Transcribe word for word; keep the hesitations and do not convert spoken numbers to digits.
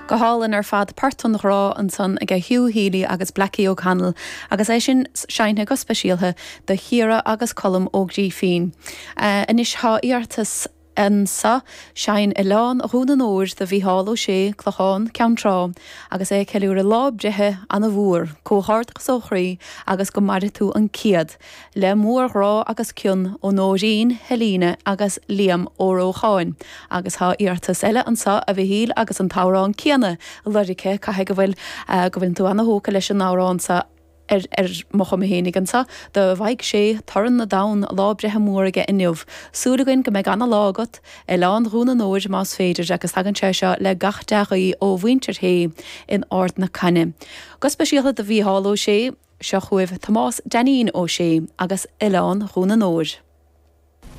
Go hálainn ar fad Port an Ghrá ansan ag Hugh Healy agus Blackie O'Connell agus é sin seinnte go speisialta do Chiara agus Colm Ó Grífín. Uh, Anois tá iarratas anseo seinn Oileán Dhún an Óir do Mhícheál Ó Sé Clochán Ceann Trá agus é ceiliúradh lá breithe ana-mhór, comhghairdeas ó chroí agus go maire tú an céad, le mórghrá agus cion ó Nóirín, Helena agus Liam Ó Rócháin, agus tá iarratas eile anseo a Mhichíl agus an t-amhrán céanna lorgaithe caithfidh go bhfuil uh, go bhfuil tú ana-thógtha leis an amhrán seo ar ar mo chuma fhéinig anseo, do Mhaidhc Sé torann na dtonn lá breithe mór aige inniu. Súil againn go mbeidh ana-lá agat Oileán Dhún an Óir más féidir agus tagann sé seo le gach dea-ghuí ó mhuintir Shé in Ard na Caine. Go speisialta do Mhícheál Ó Sé seo chugaibh Tomás Dainín Ó Sé agus Oileán Dhún an Óir.